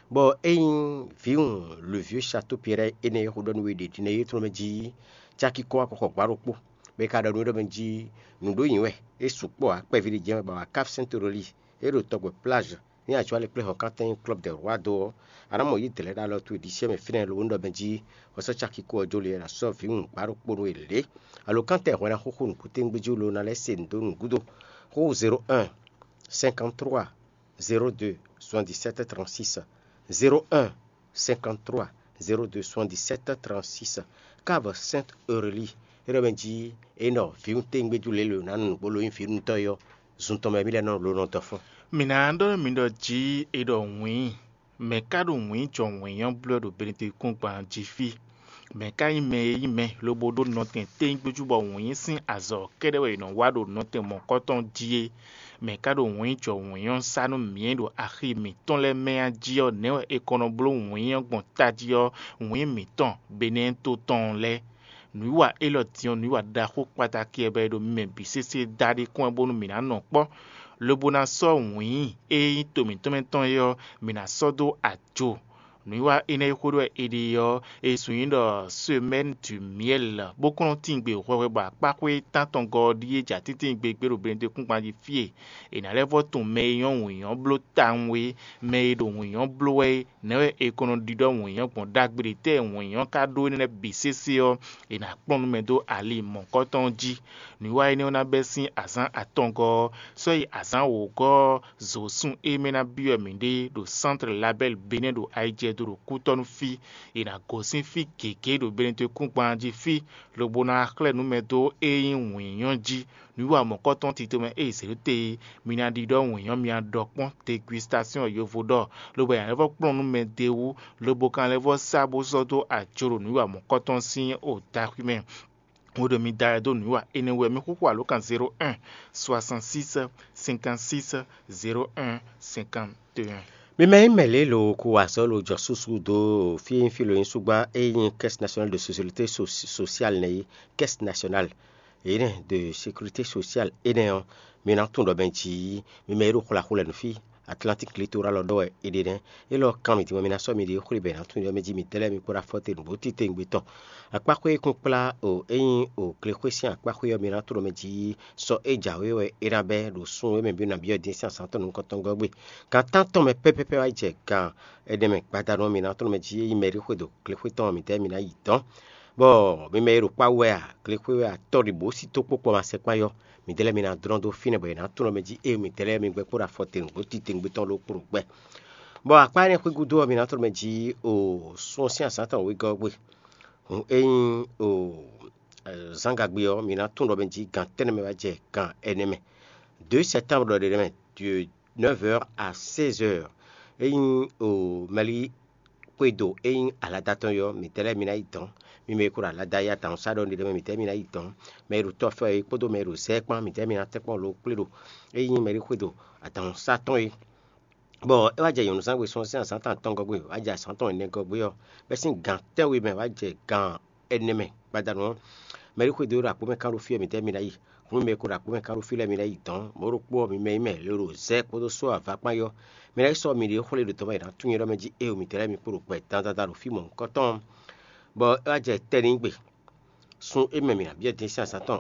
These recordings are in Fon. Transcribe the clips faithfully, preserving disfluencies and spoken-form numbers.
Bɔ ényí vǐwun le vieux Château Pierre énɛ́ e xo ɖɔ nú we ɖě ɖi nɛ́ é tlɔ́n mɛ jí caki kɔ́ wá kɔ́xɔ gbǎ ɖokpó, bɔ é ka ɖɔ nú we ɖɔ mɛ jí nǔ ɖó nyi wɛ, é sukpɔ́ ǎ, kpɛví ɖé jɛ́n wɛ bɔ a wǎ Cap Sainte Aurélie, é ɖo tɔgbɛ plage ní ajɔ̌ alɛkplɛ́hɔn kantɛn Club des Rois dó ɔ́, a nǎ mɔ yí dlɛ̌ ɖó alɔ towe ɖisí mɛ fínɛ́ lobó ɖɔ mɛ jí hwɛsɔ́ caki kó ɔ́ jó le wɛ è nǎ sɔ́ vǐwun gbǎ ɖokpó nú we lě. Alo kantɛn hwɛ̌n ná xóxó nǔkúntégbéjú lo ná lɛ́ se nǔ dó nǔgúdo. Xóxó zéro un cinquante trois zéro deux soixante dix sept trente six, zéro un cinquante trois zéro deux soixante dix sept trente six. Cave Sainte Aurélie, é ɖɔ mɛ jí é nɔ vǐwun tégbéjú lě lo ná nu nǔgbó lo nyí vǐwuntɔ́ é ɔ́, zun tɔn mɛ mì lɛ́ nɔ lo nɔ dɔ fún. Mǐ ná ɖɔ nú mi ɖɔ jí è ɖɔ wǐin, mɛ̌ ka ɖo wǐin jɔ wǐin ɔ́ bló wɛ ɖo Benedikúngban jí fí? Mɛ̌ ka nyí mɛ e nyí mɛ lobo ɖó nɔtɛn tégbéjú bɔ wǐin sín azɔ̌ kɛ́ɖɛ́ wɛ è nɔ wa ɖo nɔtɛn mɔ̌kɔtɔn jí é? Mɛ̌ ka ɖo wǐin jɔ wǐin ɔ́ sá nú mǐ e ɖo axi mǐtɔn lɛ́ɛ mɛ a jí ɔ́, nɛ̌ wɛ è kɔ nɔ bló wǐin ɔ́ gbɔn tají ɔ́, wǐin mǐtɔn Benɛ́ɛ to tɔn lɛ́ɛ? Nǔwiwa élɔ́ din ɔ́, nǔwiwa ɖaxó kpataki wɛ bɔ è ɖo mi mɛ bǐ sésé da ɖi kɔn wɛ bónú mǐ ná nɔ kpɔ́, lobo ná sɔ́ wǐin e nyí to mǐtɔn mɛ tɔn é ɔ́, mǐ ná sɔ́ dó ajo. Nǔwiwa énɛ́ e xó ɖɔ wɛ è ɖe ɔ́, è sun nyí ɖɔ Semaine du Miel, bó kɔn nɔ tín gbe hwɛhwɛ bɔ akpáxwé tántɔngɔ́ ɔ́ ɖíe jɛ atíntíngbe gbé ɖo Benedikúngban jí fí e è nǎ lɛ́ vɔ́ tunwun mɛ e nyɔ́ wǐnyɔ́ bló tawun é, mɛ e ɖo wǐnyɔ́ bló wɛ é, nɛ̌ wɛ è ko nɔ ɖiɖɔ wǐnyɔ́ gbɔn ɖagbe ɖě tɛ́ wǐnyɔ́ ka ɖó énɛ́ lɛ́ɛ bǐ sésé ɔ́, è nǎ kplɔ́n nú mɛ dó ali mɔ̌kɔtɔn ɔ́ jí. Nǔwiwa énɛ́ ɔ́ ná bɛ́ sín azǎn atɔngɔ́ ɔ́, sɔ́ yi azǎn wǒgɔ́ ɔ́, zǒsun e mɛ ná byɔ́ mǐɖée ɖo Sántre Labɛ́l Benɛ́ ɖo ayijɛdo ɖo kútɔ́ nú fí. È nǎ gosín fí gěgé ɖo Benedikúngban jí fí, lobo ná xlɛ́ nǔ mɛ dó e nyí wǐnyɔ́ jí. Nǔwiwa mɔ̌kɔtɔn tito mɛ e è zě ɖó te é, mi ná ɖiɖɔ wǐnyɔ́ mi ná ɖɔ kpɔ́n degustasɔ́n e yovo ɖɔ, lobo è nǎ lɛ́ vɔ́ kplɔ́n nú mɛ d'é wú, lobo ka lɛ́ vɔ́ sá bó sɔ́ dó ajo ɖo nǔwiwa mɔ̌kɔtɔn sín o daxwi mɛ. Hwenu e mi da wɛ dó nǔwiwa énɛ́ wú ɔ́, mi xúxú alǒkan zéro un soixante six cinquante six zéro un cinquante un. Mi mɛ nyí mɛ lě lo kú wa sɔ́ lo jɔ súsú dó fí e nyí fí lo nyí súgbá e nyí Caisse Nationale de Sécurité So- Sociale nɛ́ é, Caisse Nationale énɛ́ de Sécurité Sociale énɛ́ ɔ́, mi ná tunwun ɖɔ mɛ jǐ mi mɛ e ɖo xwlaxwlɛ nǔ fí Atlantique Littoral ɔ́ ɖɔ wɛ è ɖe nɛ́. Élɔ́ kan mi din wɛ mi ná sɔ́ miɖée xwlé bɔ è nǎ tunwun ɖɔ mɛ jí mitɛ́ lɛ́ɛ mi kpó ɖo afɔtɛn nǔgbó titewungbe tɔn. Akpáxwé e kún kplá o é nyí o glexwé sín akpáxwé ɔ́, mi ná tunwun ɖɔ mɛ jí sɔ e jǎwe wɛ é ná bɛ́ ɖo sun e mɛ byɔ́ nǎ byɔ́ dín sín azǎn tɔn nukɔntɔn gɔ́ gbe. Gan tántɔn mɛ pɛ́pɛ́pɛ́ wá jɛ gan ɛnɛ mɛ gbadanu ɔ́, mi ná tunwun mɛ jí é nyí mɛ e ɖi xwe ɖo glexwé tɔn ɔ́, mitɛ́ mi ná yi dɔ̌n. Bɔ mi mɛ e ɖo kpá wú wɛ a, glexwé wɛ a, tɔ́ ɖi bǒ sí tó kpókpɔ ma sɛkpán yɔ, midɛɛ lɛ́ɛ mi ná dlɔ́n dó fínɛ́ bɔ è nǎ tunwun mɛ jí ée midɛɛ lɛ́ɛ mi gbɛ́ kpó ɖo afɔ tɛngbó titewungbe tɔn ló kpo ɖo gbɛ. Bɔ akpá énɛ́ xwé gúdo ɔ́, mi ná tunwun mɛ jí o sun ɔ́ sín azǎn tɔn wegɔ́ ɔ́ gbe. Hǔn ényí o zǎngagbe ɔ́, mi ná tunwun ɖɔ mɛ jí gan tɛ́nnɛ mɛ wá jɛ gan ɛnɛ mɛ. Deux septembre ɖɔ ɖe mɛ, de neuf heures à seize heures. Ényí o mɛlí xwédo e nyí alada tɔn ɔ́, mǐtɛ́ lɛ́ɛ mi ná yi dɔ̌n. Mi mɛ e ko ɖo alada e adǎnnúsá ɖɔ ɖe mɛ, mǐtɛ́ mi ná yi dɔ̌n. Mɛ e ɖo tɔ́fɛ é kpódó mɛ e ɖo zɛ é kpán, mǐtɛ́ mi ná tɛ́nkpɔ́n lo kplé ɖo ényí mɛɖé xwédo adǎnnúsá tɔn é. Bɔ é wá jɛ nyɔ̌nu zán we sɔ́ sín azǎn tɔn atɔngɔ́ gbe, wá jɛ azǎn tɔn ɛnɛ gɔ́ gbé ɔ́, bɛ́ sín gan tɛ́nwe mɛ wá jɛ gan ɛnɛ mɛ gbadanu ɔ́, mɛɖé xwédo e ɖo akpó mɛ kán ɖo fí wɛ mǐtɛ́ mi ná yi. Hǔn mɛ e ko ɖo akpó mɛ kán ɖo fí lɛ́ɛ mi ná yi dɔ̌n, mɔ̌ ɖokpó ɔ́, mi mɛ e nyí mɛ lě ɖo zɛ kpódó só ava kpán yɔ́, mi ná yi sɔ́ miɖée xwlé ɖo tɔ́ mɛ è nǎ tunwun nyɛ ɖɔ mɛ jí éeǒ mǐtɛ́ lɛ́ɛ mi kpo ɖo gbɛ dandan ɖo fí mɔ̌hunkɔtɔn ɔ́. Bɔ é wá jɛ tɛ́ n'i gbe. Sun e mɛ mǐ ná byɔ́ din sín azǎn tɔn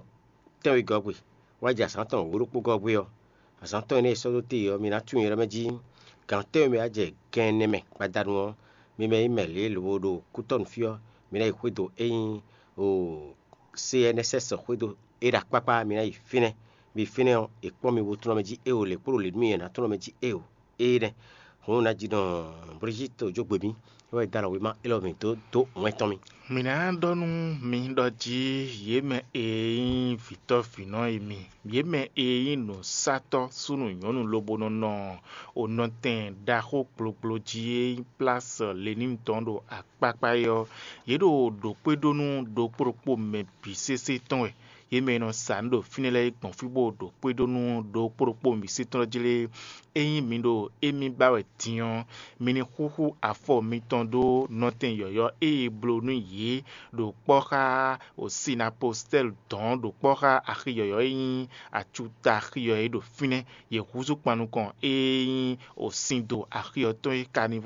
tɛ́nwegɔ́ gbe, wá jɛ azǎn tɔn wǒ ɖokpó gɔ́ gbé ɔ́, azǎn tɔn énɛ́ e sɔ́ dó te ɔ́, mi ná tunwun nyɛ ɖɔ mɛ jí gan tɛ́nwe mɛ wá jɛ gan ɛnɛ mɛ gbadanu ɔ́, mi mɛ e nyí mɛ lě lobo ɖo kútɔ́nu fí ɔ́, mi ná yi xwédo e nyí o C N S S xwédo é ɖo akpákpá, mi ná yi fínɛ́. Mi fínɛ́ ɔ́, è kpɔ́n mi bo tunwun mɛ jí éeǒ, lě kpó ɖo lě nú mi è nǎ tunwun mɛ jí éeǒ. Énɛ́. Hǔn un ná ji ɖɔ Brigitte jó gbe mì, é wɛ da alɔ wěma élɔ́ mì dó dó wɛn tɔn mì. Mǐ ná ɖɔ nú mi ɖɔ jí yě mɛ e nyí vǐtɔ́ vǐnɔ e mi, yě mɛ e nyí nǔsatɔ́ súnnu nyɔ̌nu lobo nɔ nɔ onɔtɛn ɖaxó gblogblo jí e nyí Place Lénine tɔn ɖo akpákpá é ɔ́, yě ɖo ɖǒkpéɖónú ɖokpó ɖokpó mɛ bǐ sésé tɔn wɛ. Yě mɛ e nɔ sa nǔ ɖo fínɛ́ lɛ́ɛ é gbɔn fí bó ɖo kpé ɖó nú ɖokpó ɖokpó mǐsɛ́tɔ́ jí lé. Ényí mi ɖo émí ba wɛ din ɔ́, mi ní xúxú afɔ mitɔn ɖó nɔtɛn yɔ̌yɔ́ e è bló nú yě ɖo kpɔ́ xá Sinapostɛ́li dɔ̌n ɖo kpɔ́ xá axi yɔ̌yɔ́ e nyí acuta axi ɔ́ é ɖo fínɛ́. Yě húzú kpan nukɔn e nyí sin do axi ɔ́ tɔn é ka ní